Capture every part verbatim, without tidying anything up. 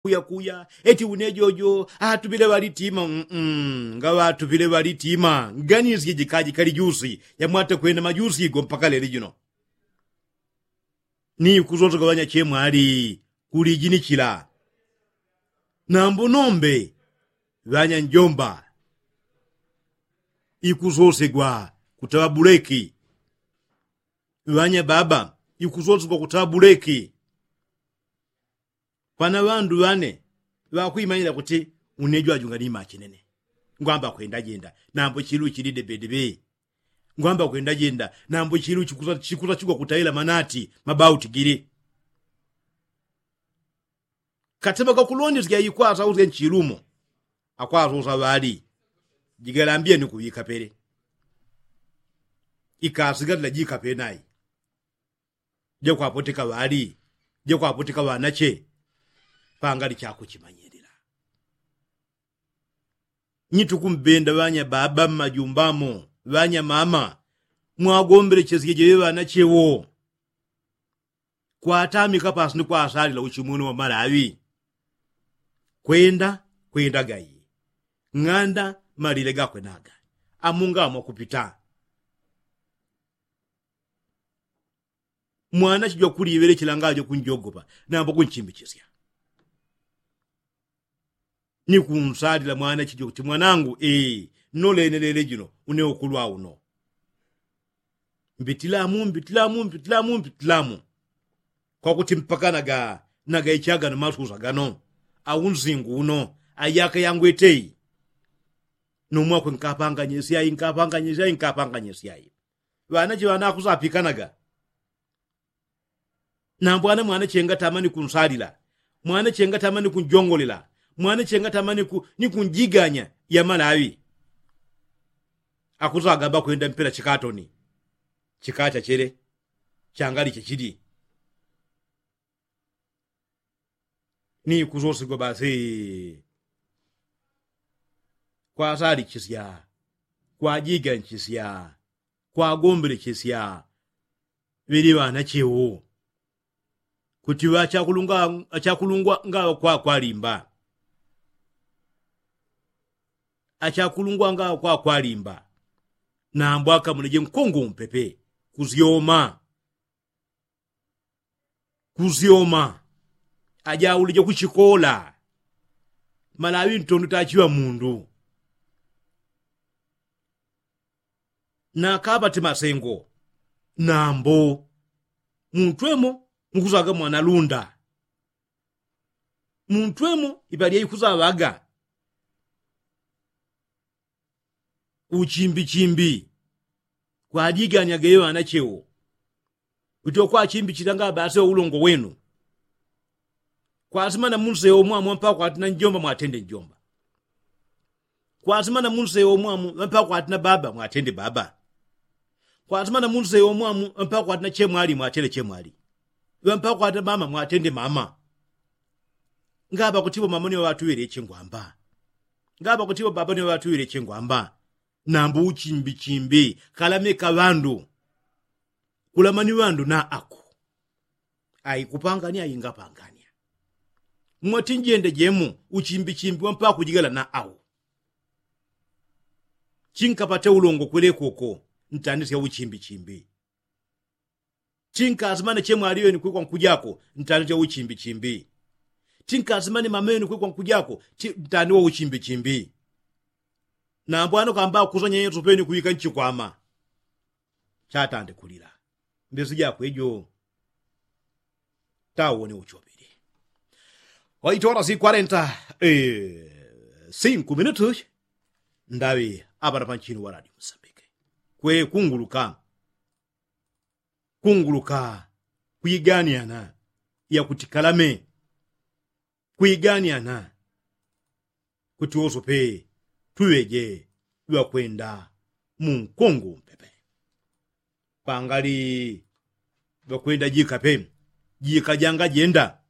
kuyakuya eti une jojo atupile ŵalitima. Ngaŵatupile ŵalitima nganisye jikajikali jusi yamwate kwenda majusi go mpaka leli jino. Ni kusosegwa ŵanyachemwali kulijinichila. Nambo nombe ŵanyanjomba ikusosegwa kutaŵa buleki. Ŵanyababa ikusosegwa kutaŵa buleki. Pana ŵandu ŵane ŵakwimanyila kuti une jwajunga ni machinene. Ngwamba kwenda jenda nambo chilu chili debedebe. Ngwamba kwenda jenda nambo chilu chikusachigwa kutaila manati mabauti gili. Katema kakulondesya ikwasa usya nchilumo akwasa usa ŵali jigalambye ni kuŵika pele. Ikasigalila jikape nai jakwapoteka ŵali jakwapoteka ŵanache. Pangali chakuchimanyilila. Nyitukumbenda ŵanyababa mmajumbamo ŵanyamama mwagombelechesye jeŵe ŵanache wo. Kwatamika pasi ni kwasalila uchimwene wa malaŵi. Kwenda kwenda gayi ng'anda malile gakwe naga. Amunga amwakupita mwana chijwa kuliŵele chilanga ajo kunjogopa nambo kunchimbichisya. Ni kunsalila mwana chijwa kuti mwanangu ee nnolenelele jino une ukulwa uno. Mbitilamu mbitilamu mbitilamu mbitilamu kwakuti mpaka naga naga ichagano masusa gano. Au nzingu uno ayaka yangwetei. Nomwakwe nkapanganye syai nkapanganye syai nkapanganye syai. Ŵanache ŵanakusapikanaga. Nambwana mwana chenga tamani kunsalila mwana chenga tamani kunjongolela mwana chenga tamani ku ni kunjiganya ya malaŵi. Akusagamba kwenda mpela chikatoni chikacha chele changali chechili. Ni kusosigwa basi kwasalichesya kwajiganchisya kwagombelechesya. Ŵeli ŵanachewo kuti ŵachakulungwa ngaŵa kwakwalimba. Achakulungwa ngaŵa kwakwalimba. Nambo akamuleje nkongo umpepe kusyoma kusyoma. Ajaulije kuchikola malaŵi ntondo tachiŵa mundu. Nakaŵa ti masengo nambo muntwemo mukusaga mwana lunda. Muntwemo ipalya ikusaŵaga uchimbichimbi. Kwajiganya geŵe ŵanachewo kuti okwachimbichila ngabasi oulongo wenu. Kwasimana munsewo mwamu ŵampaka kwatina njomba mwatende njomba. Kwasimana munsewo mwamu ŵampaka kwatina baba mwatende baba. Kwasimana munsewo mwamu ŵampaka kwatina chemwali mwatele chemwali. Ŵampaka kwatina mama mwatende mama. Ngapa kutipo mama niŵatuŵele chengwamba. Ngapa kutipo baba niŵatuŵele chengwamba. Nambo uchimbichimbi kalameka ŵandu. Kulamani ŵandu na aku aikupangania ingapangania. Mwatinjenda jemu uchimbichimbi wampaka kujigala na au. Chinkapate ulongo kwelekoko ntandisya uchimbichimbi. Chinkasimane chemwaliweni kwikwa nkujako ntandisya uchimbichimbi. Chinkasimane mameweni kwikwa nkujako ntandiwa uchimbichimbi. Nambwano kamba kusanya yesu peni kuwika nchikwama. Chatande kulila mbesi jakwe jo. Tawone uchopili. Waitola si kwarenta sinku minutu. Ndawi apana panchinu waradi musambike kwe kunguluka. Kunguluka kwiganiana yakutikalame. Kwiganiana kuti wosope tuŵeje ŵakwenda munkongo umpepe. Pangali ŵakwenda jikape jikajanga jenda.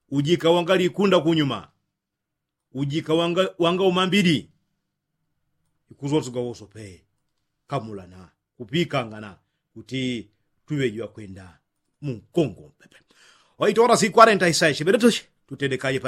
Ujika wangalikunda kunyuma ujika wanga umambili. Ikusosegwa wosope kamulana kupikangana kuti tuŵeje ŵakwenda munkongo umpepe. Waitola si kwarenta isaishi beretushi. tutedekaje.